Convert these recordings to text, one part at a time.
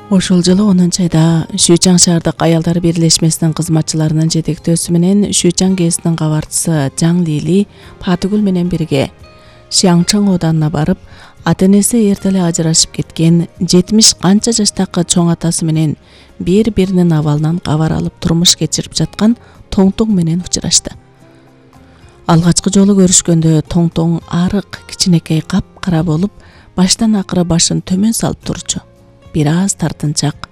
Ошол жылы 10-айда Шүйчаң шаардык аялдар бирлешмесинин кызматчыларынын жетектөөсү менен Шүйчаң ГЭСинин кабарчысы Жаң Лили Патыгүл менен бирге Шиаңчың оданына барып, ата-энеси эрте эле ажырашып кеткен 70 канча жаштагы чоң атасы менен бири-биринин абалынан кабар алып турмуш кечирип жаткан Тоңтоң менен учурашты. Алгачкы жолу көрүшкөндө Тоңтоң арык, кичинекей кап-кара болуп, баштан акыры башын төмөн салып турчу. Бир аз тартынчак.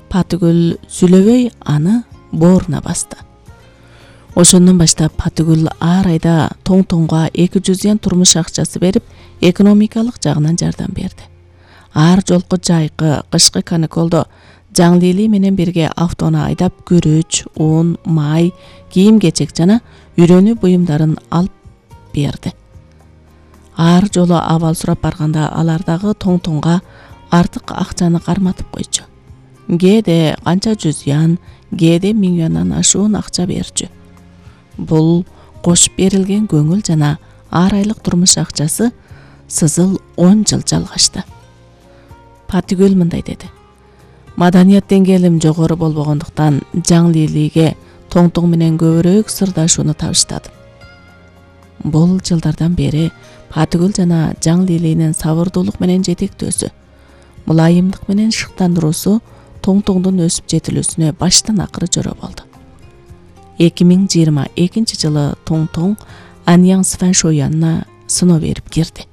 Патыгүл сүйлөбөй аны бооруна басты. Ошондон баштап Патыгүл ар айда Тоңтоңго 200 ян турмуш акчасы берип, экономикалык жагынан жардам берди. Ар жолку жайкы, кышкы каникулдо Жаң Лили менен бирге автону айдап күрүч, ун, май, кийим-кечек жана үйрөнүү буюмдарын алып берди. Ар жолу абал сурап барганда алар дагы Тоңтоңго артык акчаны карматып койчу. Кээде канча 100 ян, кээде 1000 яндан ашуун акча берчү. Бул кошуп берилген көңүл жана ар айлык турмуш акчасы сызыл 10 жыл жалгашты. Патыгүл мындай деди: маданият деңгээлим жогору болбогондуктан Жаң Лилиге Тоңтоң менен көбүрөөк сырдашууну табыштадым. Бул жылдардан бери Патыгүл жана Жаң Лилинин сабырдуулук менен жетектөөсү, мулайымдык менен шыктандыруусу Тоңтоңдун өсүп жетилүүсүнө баштан акыры жора болду. 2022 жылы Тоңтоң Аньяң Сфэншо янына сыноо берип кирди.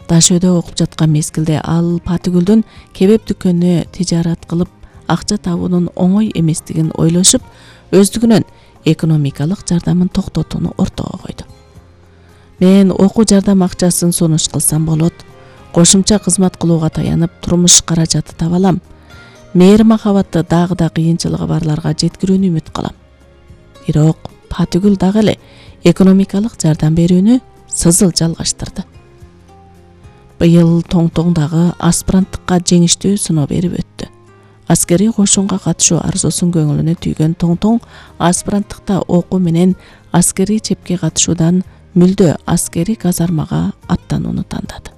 Дашөдө окуп жаткан мезгилде ал Патыгүлдүн кебеп дүкөнүнө тижарат кылып акча табуунун оңой эместигин ойлошуп, өздүгүнөн экономикалык жардамын токтотууну ортого койду. Мен окуу жардам акчасын сунуш кылсам болот, кошумча кызмат кылууга таянып турмуш каражаты таба алам. Мээри махабатты дагы да кыйынчылыгы барларга жеткирүүнү үмүт кылам. Бирок Патыгүл дагы эле экономикалык жардам берүүнү сызыл жалгаштырды. Быйыл Тоңтоң дагы аспиранттыкка жеңиштүү сыноо берип өттү. Аскерий кошунга катышуу арзусун көңүлүнө түйгөн Тоңтоң аспиранттыкта окуу менен аскерий чепке катышуудан мүлдө аскерий казармага аттанууну тандады.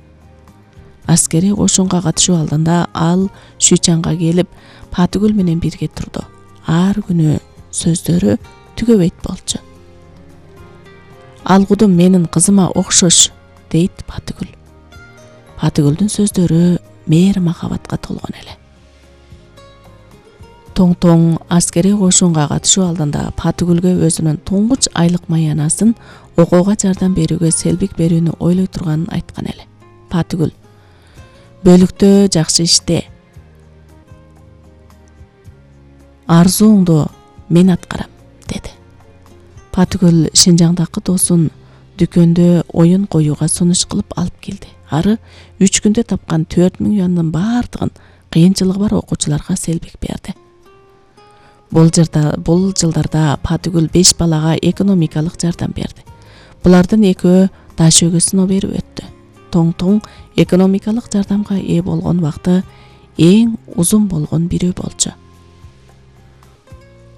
Аскерий кошунга катышуу алдында ал Шүйчаңга келип, Патыгүл менен бирге турду. Ар күнү сөздөрү түгөбөйт болчу. Алгудум менин кызыма окшош, дейт Патыгүл. Патыгүлдүн сөздөрү мээри махабатка толгон эле. Тоңтоң аскерий кошунга катышуу алдында Патыгүлгө өзүнүн туңгуч айлык маянасын окууга жардам берүүгө селбик берүүнү ойлой турганын айткан эле. Патыгүл: бөлүктө жакшы иште. Арзууңду мен аткарам, деди. Патыгүл Шинжаңдагы досун дүкөндө оюн коюуга сунуш кылып алып келди. Ары 3 күндө тапкан 4000 яндын бардыгын кыйынчылыгы бар окуучуларга селбик берди. Бул жылдарда Патыгүл 5 балага экономикалык жардам берди. Булардын экөө Дашөөгө сыноо берип өттү. Тоңтоң экономикалык жардамга ээ болгон убакты эң узун болгон бирөө болчу.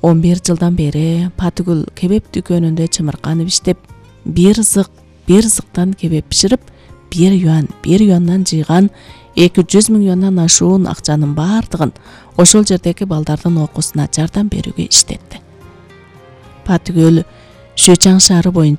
11 жылдан бери Патыгүл кебеп дүкөнүндө чымырканып иштеп, бир зыктан кебеп биширип, 1 юандан жыйган 200 000 юандан ашуун акчанын бардыгын ошол жердеги балдардын окуусуна жардам берүүгө иштетти. Патыгүл Шүйчаң шаары боюнча